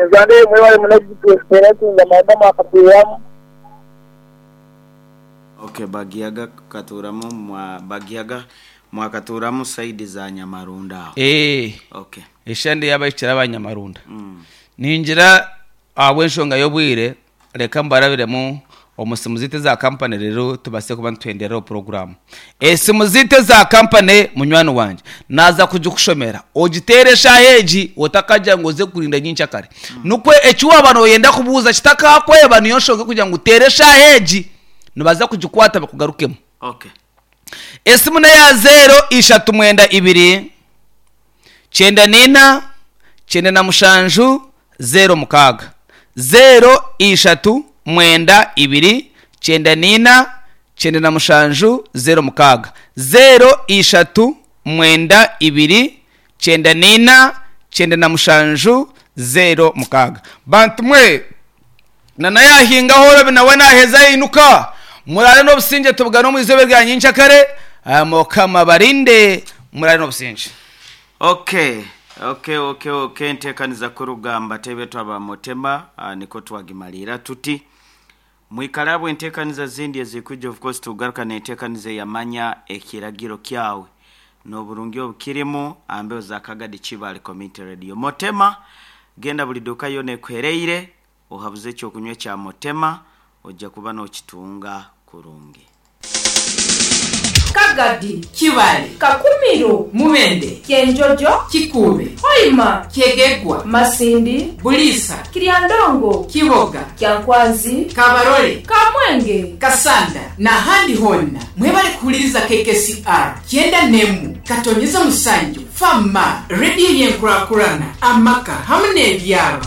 Enzando eyo mwebale muno kugituseretinga mwaba mwakatuuramu. Ok Bagiyaga katuuramu mwa Bagiyaga mwakatuuramu side za Nyamarunda aho. Eeh Ok. Eshande y'abahikire aba Nyamarunda. Ningira ahabw'enshonga y'obwire reka mbarabiremu omu simu zaitu eza kampani reero tubaase kuba nituhendereraho puroguraamu. Esimu zaitu eza kampani munywani wangye naaza kugikushomera ogiteere eshaaha egi otakagira ngu oze kurinda nyenkyakare. Nikwo eki waaba nooyenda kubuuza kitakakweba niyo nshonga erikugira ngu teera eshaaha egi nibaza kugikwata bakugarukemu. Okay. Esimu n'eya zeero ishatu mwenda ibiri, kyenda n'ina, kyenda na mushanju, zeero mukaaga. Zeero ishatu mwenda ibiri, kyenda n'ina, 97 06. Zeero ishatu mwenda ibiri, 94 97 06. Bantu mwe, na nayahingaho orobi nawe naheza yainuka. Muraare n'obusingye tubugane omu izooba erya nyenkyakare. Mukama abarinde muraare n'obusingye. Ok ok ok ok entekaniza kurugamba tebe twaba mutema nikwo twagimaliira tuti. Mwikare ahabwa enteekaniza zindi ezirikwija of course tukugaruka n'enteekaniza eya Manya Ekiragiro Kyawe n'oburungi obukirimu aha mbeho za Kagadi Kibaale Community Radio. Motema, genda buri duuka yoona ekuhereire ohabuze eky'okunywa ekya Motema oija kuba n'okitunga kurungi. Kagadi, Kibaale, Kakumiro, Mubende, Kyenjojo, Kikuube, Hoima, Kyegegwa, Masindi, Buliisa, Kiryandongo, Kiboga, Kyankwanzi, Kabarole, Kamwenge, Kasanda n'ahandi hoona. Mwebale kuhuliriza KKCR kyenda n'emwe katonyeza musanju FM, rediyo y'enkurakurana, amaka hamu n'ebyaro.